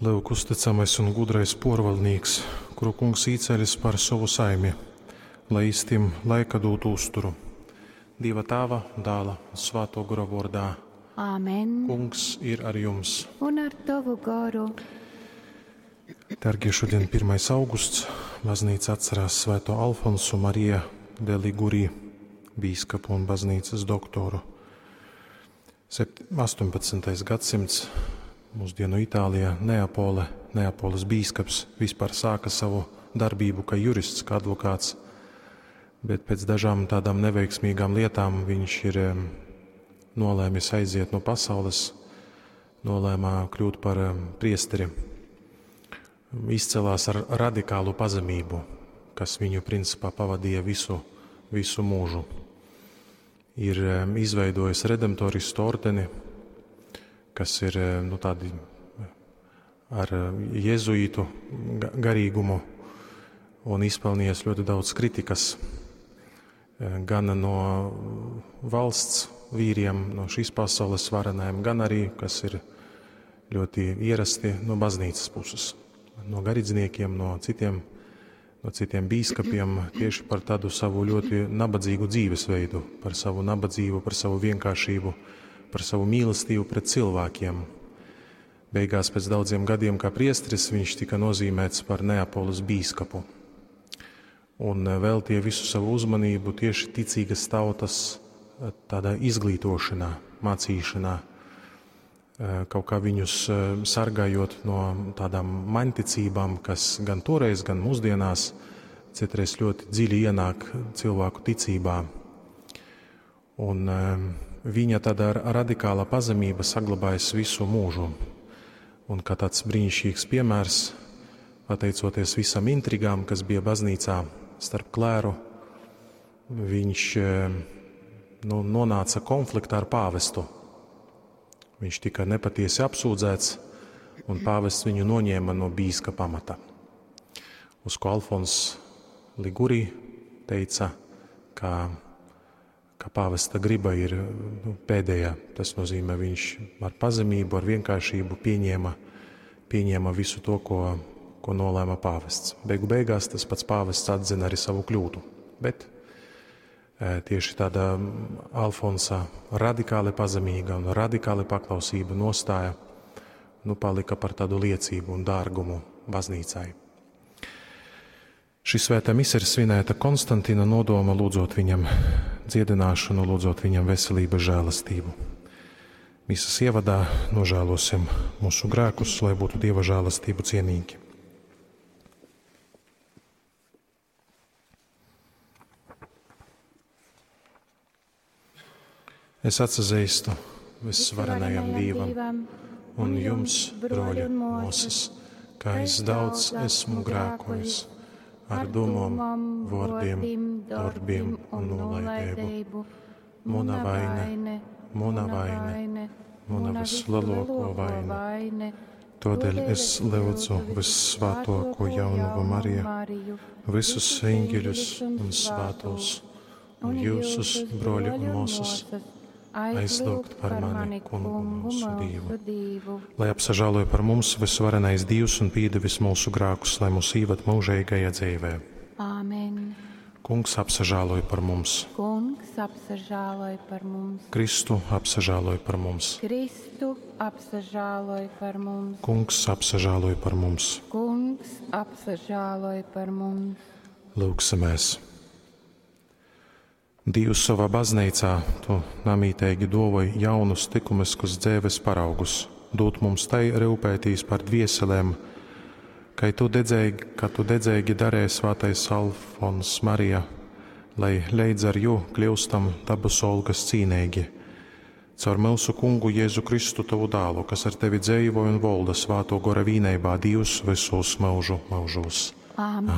Lyuk, uztycamais un gudrais pōrvaldnīks, kuru Kungs īcelis par sovu saimi, lai jis tim laika dūtu uzturu. Dīva Tāva, Dāla un Svātō Gora vōrdā. Āmen. Kungs ir ar jums. Un ar tovu goru. Dargie, šodien 1. augusts. Baznīca atcerās Svēto Alfonsu Marija de Liguri, bīskapu un baznīcas doktoru. 18. gadsimts mūsdienu Itālijā, Neapole, Neapoles bīskaps vispār sāka savu darbību kā jurists, kā advokāts, bet pēc dažām tādām neveiksmīgām lietām viņš ir nolēmis aiziet no pasaules, nolēma kļūt par priesteri. Izcelās ar radikālu pazemību, kas viņu principā pavadīja visu mūžu. Ir izveidojis redemptoristu ordeni, kas ir tādi ar jezuītu garīgumu un izpelnījies ļoti daudz kritikas gan no valsts vīriem, no šīs pasaules varenajiem, gan arī, kas ir ļoti ierasti no baznīcas puses, no garīdzniekiem, no citiem bīskapiem, tieši par tādu savu ļoti nabadzīgu dzīvesveidu, par savu nabadzību, par savu vienkāršību, par savu mīlestību pret cilvēkiem. Beigās pēc daudziem gadiem kā priesteris viņš tika nozīmēts par Neapoles bīskapu un veltīja visu savu uzmanību tieši ticīgas tautas tādā izglītošanā, mācīšanā, kaut kā viņus sargājot no tādām maņticībām, kas gan toreiz, gan mūsdienās citreiz ļoti dziļi ienāk cilvēku ticībā. Un viņa tāda radikāla pazemība saglabājas visu mūžu. Un kā tāds brīnišķīgs piemērs, pateicoties visam intrigām, kas bija baznīcā starp klēru, viņš nonāca konfliktā ar pāvestu. Viņš tika nepatiesi apsūdzēts, un pāvests viņu noņēma no bīskapa amata. Uz ko Alfons Liguri teica, ka pāvesta griba ir pēdējā. Tas nozīmē, viņš ar pazemību, ar vienkāršību pieņēma visu to, ko nolēma pāvests. Beigu beigās tas pats pāvests atzina arī savu kļūdu. Bet tieši tāda Alfonsa radikāli pazemīga un radikāli paklausība nostāja, palika par tādu liecību un dārgumu baznīcai. Šī svētā mise ir svinēta Konstantina nodoma, lūdzot viņam dziedināšanu, lūdzot viņam veselības žēlastību. Misas ievadā nožēlosim mūsu grēkus, lai būtu Dieva žēlastību cienīgi. Es atsazīstu visvarenajam Dievam un jums, broļi un māsas, ka es daudz esmu grēkojis ar domām, vārdiem, darbiem un nolaidību. Muna vaina, muna vaina, muna vislielāko vaina. Tādēļ es lūdzu vissvētāko jaunavu Mariju, visus eņģeļus un svētos, un jūsus, broļi un māsas, aizlūgt par mani, Kungu mūsu Dievu. Lai apsažāloja par mums visvarenais Dievs un piedevis mūsu grēkus, lai mūs īvad mūžīgajā dzīvē. Āmen. Kungs apsažāloja par mums. Kungs apsažāloja par mums. Kristu apsažāloja par mums. Kristu apsažāloja par mums. Kungs apsažāloja par mums. Kungs apsažāloja par mums. Lūgsimies. Dievs savā baznīcā tu namītīgi dovoj jaunus likumiskus dzīves paraugus, dot mums tai rūpētīs par dvieselēm, ka tu dedzīgi darēji svētais Alfons Marija, lai leidz ar jū kļūstam dabas olgas cīnīgi. Caur mūsu kungu Jēzu Kristu tavu dālu, kas ar tevi dzīvoja un valda svāto gora vīneibā Dievs visos mūžu mūžos. Āmen.